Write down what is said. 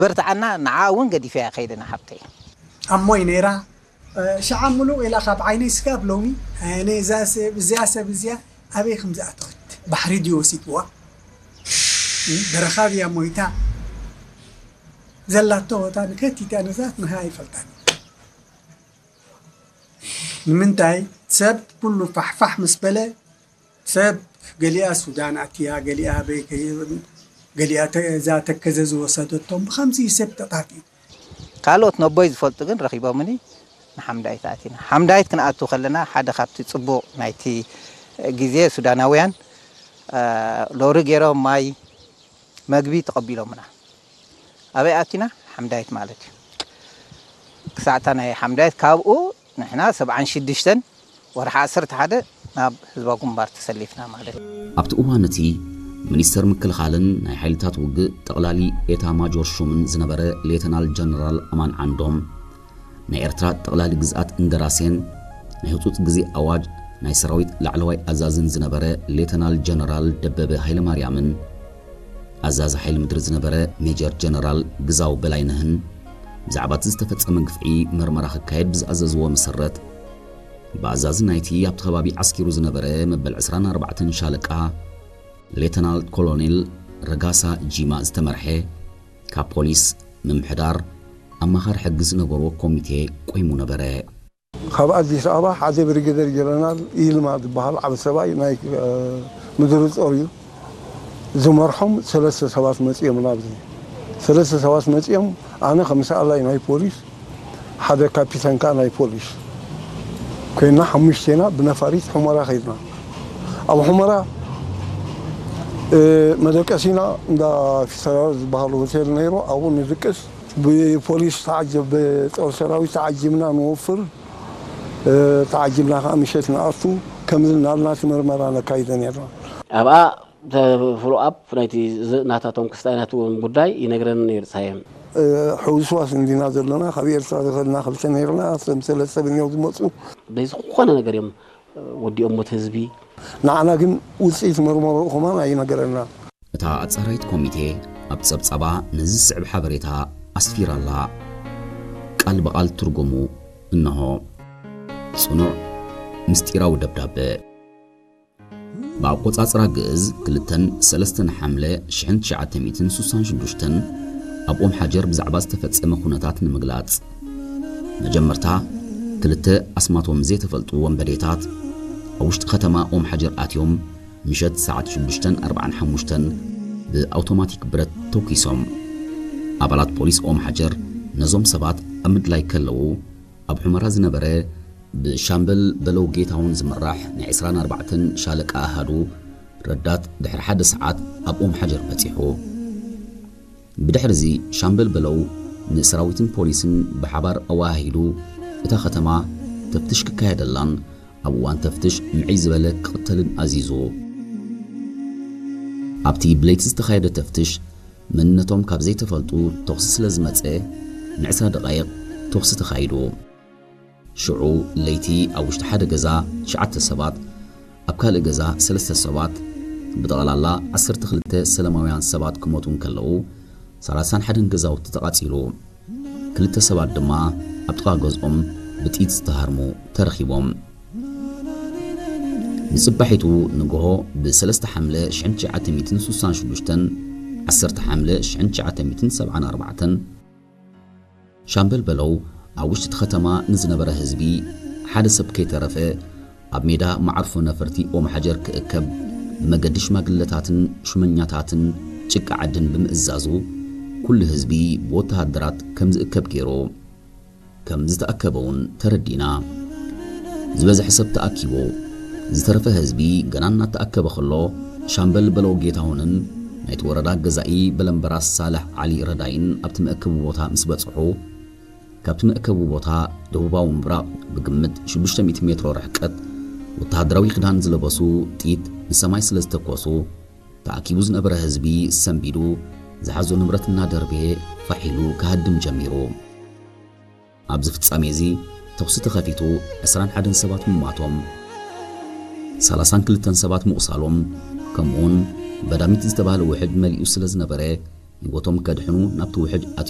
በርትዓና። ንዓ እውን ገዲፈያ ከይደ ንሓብተይ። ኣሞይ ነይራ። ሻዓ ምሉቕ ኢላ ካብ ዓይነይ ስጋብ ሎሚ፣ ኣነ እዛ ሰብ እዚኣ ሰብ እዚኣ ኣበይ ከም ዝኣተወት፣ ባሕሪ ድዩ ወሲድዋ፣ በረኻ ድያ ሞይታ፣ ዘላቶ ቦታ ንከቲታ ነዛት ንሃ ኣይፈልጣን። ንምንታይ ሰብ ኩሉ ፋሕፋሕ ምስ በለ፣ ሰብ ገሊኣ ሱዳን ኣትያ፣ ገሊኣ ኣበይ ከ-፣ ገሊኣ ተ-፣ እዛ ተከዘ ዝወሰደቶም፣ ብኸምዚ ሰብ ተጣፊኡ። ካልኦት ነቦይ ዝፈልጡ ግን ረኺቦምኒ። ንሓምዳይት ኣቲና። ሓምዳይት ክንኣቱ ከለና ሓደ ካብቲ ጽቡቕ ናይቲ ግዜ ሱዳናውያን፣ እ፣ ሎሪ ገይሮም ማይ መግቢ ተቐቢሎምና። ኣበይ ኣቲና? ሓምዳይት ማለት እዩ። ክሳዕታ ናይ ሓምዳይት ካብኡ ንሕና ሰብዓን ሽዱሽተን ወርሒ ዓሰርተ ሓደ ናብ ህዝባዊ ግንባር ተሰሊፍና ማለት እዩ። ኣብቲ እዋን እቲ ሚኒስተር ምክልኻልን ናይ ሓይልታት ውግእ ጠቕላሊ ኤታ ማጆር ሹምን ዝነበረ ሌተናል ጀነራል ኣማን ዓንዶም፣ ናይ ኤርትራ ጠቕላሊ ግዝኣት እንደራሴን ናይ ህጹጽ ግዜ ኣዋጅ ናይ ሰራዊት ላዕለዋይ ኣዛዝን ዝነበረ ሌተናል ጀነራል ደበበ ሃይለማርያምን ኣዛዚ ሓይሊ ምድሪ ዝነበረ ሜጀር ጀነራል ግዛው በላይነህን ብዛዕባ እቲ ዝተፈጸመ ግፍዒ መርመራ ክካየድ ብዝኣዘዝዎ መሰረት፣ ብኣዛዚ ናይቲ ኣብቲ ከባቢ ዓስኪሩ ዝነበረ መበል ዕስራን ኣርባዕተን ሻለቃ ሌተናል ኮሎኔል ረጋሳ ጂማ ዝተመርሐ ካብ ፖሊስ፣ ምምሕዳር፣ ኣማኻሪ ሕጊ ዝነበርዎ ኮሚቴ ቆይሙ ነበረ። ካብ ኣዲስ ኣበባ ሓደ ብሪጌደር ጀነራል ይልማ ዝበሃል ዓቢ ሰብኣይ ናይ ምድሪ ጦር እዩ ዝመርሖም። ሰለስተ ሰባት መጺኦም ናብዚ። ሰለስተ ሰባት መጺኦም፣ ኣነ ከም ሰኣላይ ናይ ፖሊስ፣ ሓደ ካፒተን ከኣ ናይ ፖሊስ ኮይና፣ ሓሙሽቴና ብነፋሪት ሑመራ ከይድና። ኣብ ሑመራ መደቀሲና እንዳ ፊሰራር ዝበሃል ሆቴል ነይሩ፣ ኣብኡ ንድቅስ። ብፖሊስ ተዓጀብ ብጦር ሰራዊት ተዓጂብና ንወፍር። ተዓጂብና ከዓ ምሸት ንኣቱ። ከምዚ እናልና እቲ መርመራ ነካይደ ነርና። ኣብኣ ፎሎ ኣፕ ናይቲ ናታቶም ክስታይ ናትዎም ጉዳይ ይነግረኒ ነይሩ ፀሃየ። ሕውስዋስ እንዲና ዘለና፣ ካብ ኤርትራ ዝኸድና ክልተ ነይርና፣ እቶም ሰለስተ ብንዮም ዝመፁ። ብዘይ ዝኾነ ነገር እዮም ወዲኦም ሞት ህዝቢ። ንዓና ግን ውፅኢት መርመሮ ከማን ኣይነገረና። እታ ኣጻራይት ኮሚቴ ኣብ ጸብጻባ ነዚ ዝስዕብ ሓበሬታ ኣስፊራ'ላ። ቃል ብቓል ትርጉሙ እንሆ። ጽኑዕ ምስጢራዊ ደብዳበ። ብኣቆጻጽራ ግእዝ ክልተን ሰለስተን ሓምለ ሽሕን ትሽዓተ ሚእትን ስሳን ሽዱሽተን ኣብ ኦም ሓጀር ብዛዕባ ዝተፈጸመ ኩነታት ንምግላጽ። መጀመርታ ክልተ ኣስማቶም ዘይተፈልጡ ወንበዴታት ኣብ ውሽጢ ከተማ ኦም ሓጀር ኣትዮም ምሸት ሰዓት ሽዱሽተን ኣርባዓን ሓሙሽተን ብኣውቶማቲክ ብረት ተኲሶም። ኣባላት ፖሊስ ኦም ሓጀር ነዞም ሰባት ኣብ ምድላይ ከለዉ፣ ኣብ ሑመራ ዝነበረ ብሻምበል በለው ጌታሁን ዝምራሕ ናይ ዕስራን ኣርባዕተን ሻለቃ ኣሃዱ ረዳት ድሕሪ ሓደ ሰዓት ኣብ ኦም ሓጀር በጺሑ። ብድሕርዚ ሻምበል በለው ንሰራዊትን ፖሊስን ብሓባር ኣወሃሂዱ እታ ከተማ ተፍትሽ ክካየደላን ኣብ እዋን ተፍትሽ ምዕይ ዝበለ ክቕተልን ኣዚዙ። ኣብቲ ብለይቲ ዝተኻየደ ተፍትሽ መንነቶም ካብ ዘይተፈልጡ ተኹሲ ስለ ዝመጸ ንዕስራ ደቓይቕ ተኹሲ ተኻይዱ። ሽዑ ለይቲ ኣብ ውሽጢ ሓደ ገዛ ትሽዓተ ሰባት፣ ኣብ ካልእ ገዛ ሰለስተ ሰባት፣ ብጠቕላላ ዓሰርተ ክልተ ሰላማውያን ሰባት ክሞቱ እንከለዉ፣ ሰላሳን ሓደን ገዛውቲ ተቓጺሉ። ክልተ ሰባት ድማ ኣብ ጥቓ ገዝኦም ብጥይት ዝተሃርሙ ተረኺቦም። ንጽባሒቱ ንግሆ ብሰለስተ ሓምለ ሽሕን ትሽዓተ ሚእትን ስሳን ሽዱሽተን፣ ዓሰርተ ሓምለ ሽሕን ትሽዓተ ሚእትን ሰብዓን ኣርባዕተን፣ ሻምበል በለው ኣብ ውሽጢ እቲ ከተማ ንዝነበረ ህዝቢ ሓደ ሰብ ከይተረፈ ኣብ ሜዳ መዓርፎ ነፈርቲ ኦም ሓጀር ክእከብ ብመገዲ ሽማግለታትን ሹመኛታትን ጭቃ ዓድን ብምእዛዙ ኩሉ ህዝቢ ብወተሃደራት ከም ዝእከብ ገይሩ። ከም ዝተኣከበ እውን ተረዲእና። ዝበዝሐ ሰብ ተኣኪቡ። ዝተረፈ ህዝቢ ገና እናተኣከበ ከሎ ሻምበል በለው ጌታሁንን ናይቲ ወረዳ ገዛኢ በለምበራስ ሳልሕ ዓሊ ረዳይን ኣብቲ መእከቢ ቦታ ምስ በጽሑ፣ ካብቲ መእከቢ ቦታ ደቡባዊ ምብራቕ ብግምት ሽዱሽተ ሚእቲ ሜትሮ ርሕቀት ወተሃደራዊ ክዳን ዝለበሱ ጥይት ንሰማይ ስለ ዝተኮሱ፣ ተኣኪቡ ዝነበረ ህዝቢ ሰንቢዱ ዝሓዞ ንብረት እናደርበየ ፋሕ ኢሉ ክሃድም ጀሚሩ። ኣብዚ ፍጻሜ እዚ ተኹሲ ተኸፊቱ ዕስራን ሓደን ሰባት ምሟቶም፣ ሰላሳን ክልተን ሰባት ምቑሳሎም፣ ከምኡውን በዳሚት ዝተባህለ ውሕጅ መሊኡ ስለ ዝነበረ ህይወቶም ከድሕኑ ናብቲ ውሕጅ ኣትዮም።